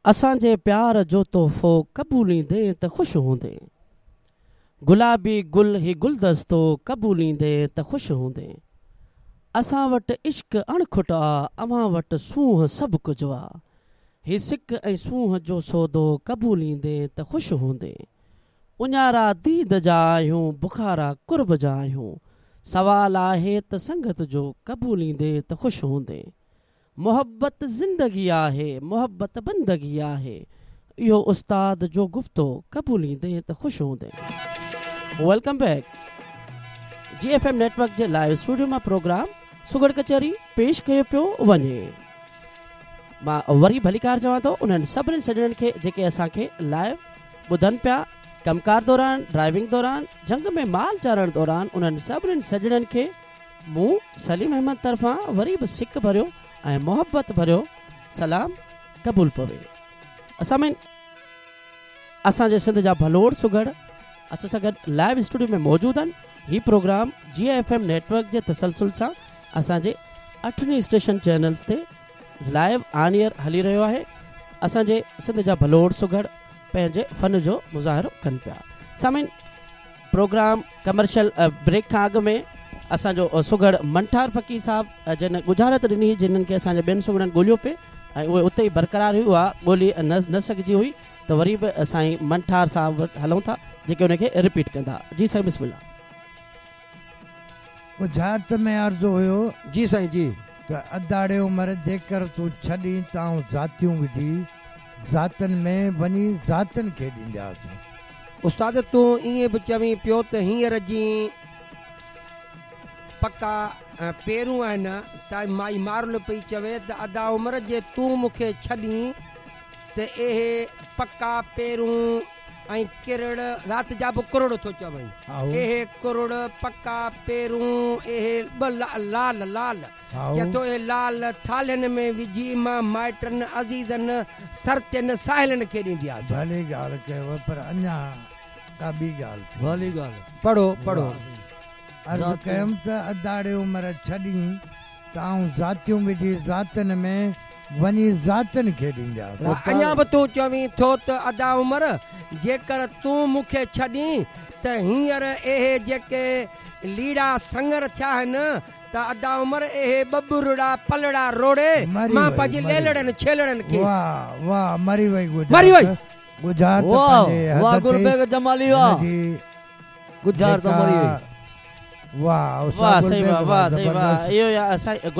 اسان جي پيار جو تحفو قبوليندين ته خوش هوندين. گلابي گل هي گلدستو قبوليندين ته خوش هوندين. اسان وٽ عشق اڻ کٽ آ اوهان وٽ سونهن سڀ ڪجهه آ. هي سڪ ۽ سونهن جو سودو قبوليندين ته خوش هوندين. اڃارا ديد جا آهيون بکارا قرب جا آهيون. سوال آهي ته سنگت جو قبوليندين ته خوش هوندين. محبت زندگي آهي، محبت بندگي آهي. اهو استاد جو گفتو قبوليندين ته خوش هوندين. Welcome back جي ايف ايم نيٽ ورڪ جي لائيو اسٽوڊيو مان پروگرام سگهڙ ڪچهري پيش ڪيو پيو وڃي. مان وري ڀليڪار چوان ٿو انهن سڀني سڄڻن کي جيڪي اسان کي لائيو ٻڌن پيا ڪم ڪار دوران، ڊرائيونگ دوران، جهنگ ۾ مال چارڻ دوران انهن سڀني سڄڻن کي مون سليم احمد طرفان وري به سڪ ڀريو ۽ محبت ڀريو سلام قبول پوي. سامعين اسان جي سنڌ جا ڀلوڙ سگهڙ اسان سان گڏ لائيو اسٽوڊيو ۾ موجود آهن. هي programme G F M network جي تسلسل سان اسان جي اٺن ئي اسٽيشن چينلز تي لائيو آن ايئر هلي رهيو آهي. اسان جي سنڌ جا ڀلوڙ سگهڙ پنهنجي فن جو مظاهرو ڪن پيا. سامعين پروگرام ڪمرشل بريڪ کان اڳ ۾ اسان جو سگهڙ منٺار فقير صاحب جن ڳجهارت ڏني هئي جنهن کي اسان جي ٻين سگهڙن ڳوليو پئي ۽ اهي اتي ئي برقرار هئي اها ڳولي نه سگهجي هئي ته وري به سائين منٺار صاحب وٽ هلون ٿا جيڪي ان کي رپيٽ ڪندا جي سائين بسم الله. ڳجهارت ۾ عرض هيو. جي سائين جي. ته اداڙي عمر جيڪر تون ڇڏين ته آئون ذاتيون وجهي ذاتن ۾ وڃي ذاتن کي ڏيندياس. استاد تون ائين به چوين پيو ته هينئر جي پڪا پيرون آهن ته مائي مارل پئي چوي ته ادا عمر جي تون مون کي ڇڏين ته اهي پڪا پيرون ۽ ڪرڙ رات جا به ڪرڙ ٿو چوين اهي ڪرڙ پڪا پيرون اهي ٻه لال لال چئي ٿو اهي لال ٿالهين ۾ وجهي مان مائٽن عزيزن سرتين ساهيلين کي ڏيندياس. ڀلي ڳالهه ڪيو پر اڃا ڪا ٻي ڳالهه ٿي. ڀلي ڳالهه. پڙهو پڙهو. عرض ڪيم ته اداڙي عمر ڇڏين ته آئون ذاتيون وجهي ذاتن ۾ وڃي ذاتن کي ڏيندياس. اڃا به تون چوين ٿو ته ادا عمر جيڪر تون مون کي ڇڏين ته هينئر اهي جيڪي ليڙا سڱر ٿيا آهن ته ادا عمر اهي ٻٻرڙا پلڙا روڙي مري مان وئي پنهنجي مري ليلڙن ڇيلڙن کي. واه واه مري وئي مري وئي. ڳجهارت ڳجهارت واه پنهنجي واه حد گل تي بيگ جمالي هن واه جي ڳجهارت جيڪا مري وئي. واه استاد واه گل سائين بيگ واه واه واه سائين واه زبردست. اهو يا سائين گل.